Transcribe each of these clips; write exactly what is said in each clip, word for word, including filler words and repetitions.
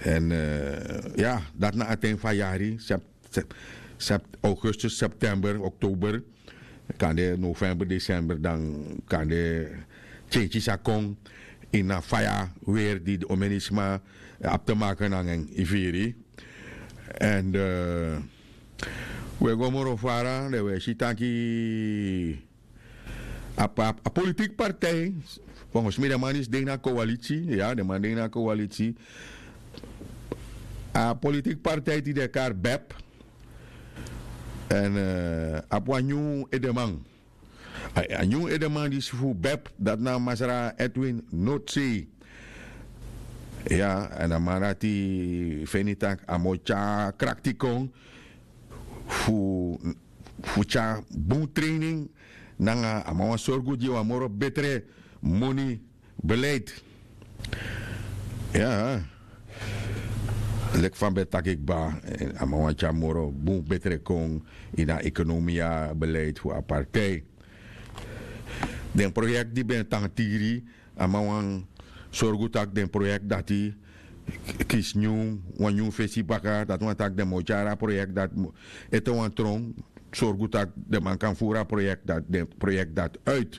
Èn ya, dati na a ten fu a yari, augustus, september, oktober, kande november, desember, dan kande kenki sa kon ini a faya weri di den omenisma abi te make nanga en, yu firi. Èn we go moro fara, dan we si taki a politiki partij, volgens mi den man disi de ini a koalitsi. Ya, den man de ini a koalitsi. A politiki partij di den e kari bep. Èn a abi wan nyun edeman. A nyun edeman disi fu bep, dati na masra Edwin Noordzee. Ya, èn a man dati feni tak' a mu o tyari krakti kon fu tyari bun training, nanga a man wani sorgu gi wan moro betre moni beleid. Ya, leki fa mi ben taki kba, a man wani tyari moro bun betre kon ini a ekonomia beleid fu a partij. Den proyekti di ben tan tiri, a man wani sorgu tak' den proyekti dati kisi nyun, wan nyun fesi baka. Dati wani tak' den mu o tyari a proyekti dati ete wan tron, sorgu tak' den man kan furu a proyekti dati, den proyekti dati uit.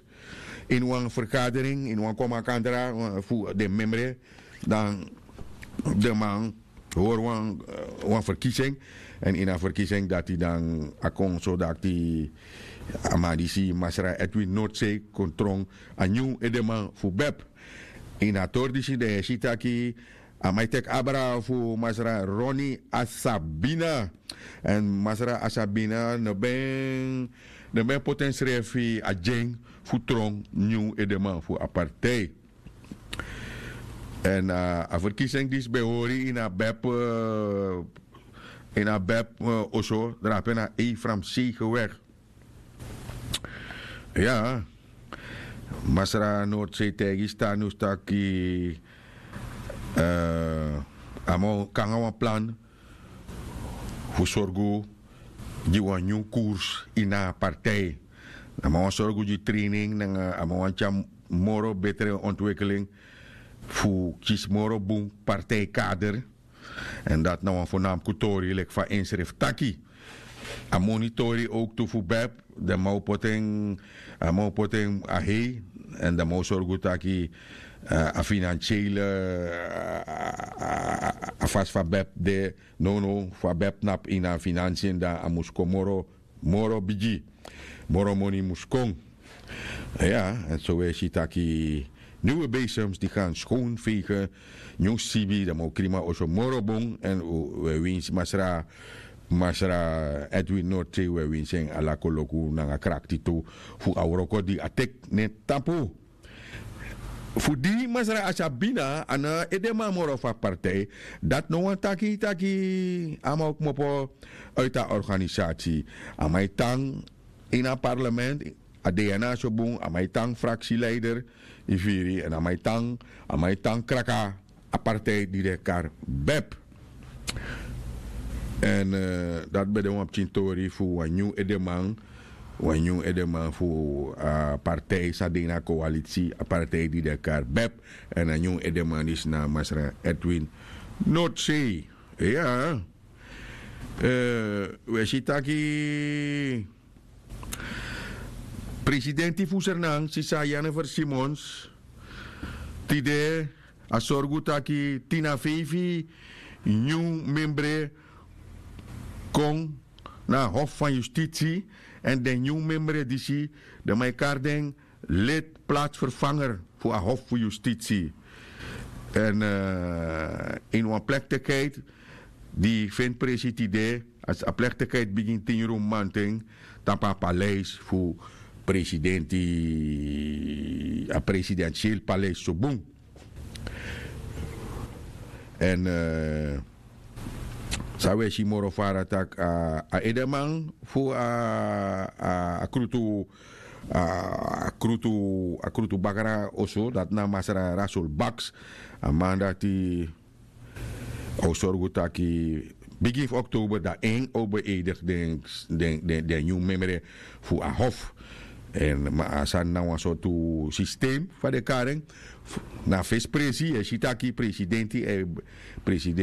Ini wan ferkadering, ini wan kon makandra fu den memre, dan den man hori wan ferkisi en. Èn ini a ferkisi en dati dan a kon so dati a man disi masra Edwin Noordzee kon tron a nyun edeman fu bep. Ini a tori disi dan yu e si taki a man e teki abra fu masra Ronnie Asabina. Èn masra Asabina no ben no ben poti ensrefi a dyen fu tron nyun edeman fu a partij. Èn a ferkisi en disi ben hori ini a bep ini a bep oso drape na ei framsei gewek. Ya, masra Noordzee taigi stanus taki a man o kon nanga wan plan fu sorgu gi wan nyun kurs ini a partij. A man wani sorgu gi training nanga a man wani tyari moro betre ontwikeling fu kisi moro bun partijkader. Èn dati na wan fo namku tori leki fa ensrefi taki. A moni tori owktu fu bep, den man o poti en a man o poti en a hei. Èn den man o sorgu taki a finansiele a fasi fu a bep de. Nownow fu a bep tnapu ini a finansi en dan a mus kon moro moro bigi. Moro moni mus kon. Ya, èn so wi e si taki nyun besems di gan skon feigen nyun sibi dan man o krima oso moro bun èn wi e winsi masra masra Edwin Norte wi e winsi en ala koloku nanga krakti tu fu a wroko di a teki na en tapu. Fu di masra Asabina a no edeman moro fu a partij. Dati no wani taki taki a man o kmopo uiti a organisati. A man e tan ini a parlement. A de ya na a so bun a man e tan fraksileider. Yu firi èn a man e tan a man e tan kraka a partij di den e kari bep. Èn dati ben de wan pikin tori fu wan nyun edeman wan nyun edeman fu a partij san de ini a koalitsi a partij di den e kari bep. Èn a nyun edeman disi na masra Edwin Nordsee. Ya. Wi e si taki presidenti fu sernan sisa jennifer simons tide a sorgu taki tin na feifi nyun membre kon na a hof fan yustitsi. Èn den nyun membre disi den man e kari den lid platsvervanger fu a hof fu yustitsi. Èn ini wan plektikheid di feni presi tide a plektikheid bigin tin yuru mamanten tapu a paleis fu presidenti a presidentieel paleis so bun. Èn san wi e si moro fara tak' a edeman fu a krutu a krutu a krutu bakra oso dati na masra rasul baks. A man dati a o sorgu taki bigin fu oktober dan en o beedik den den nyun memre fu a hof. Èn ma a sani na wan sortu sistem fa den kari en na fesi presi e si taki presidenti e presidenti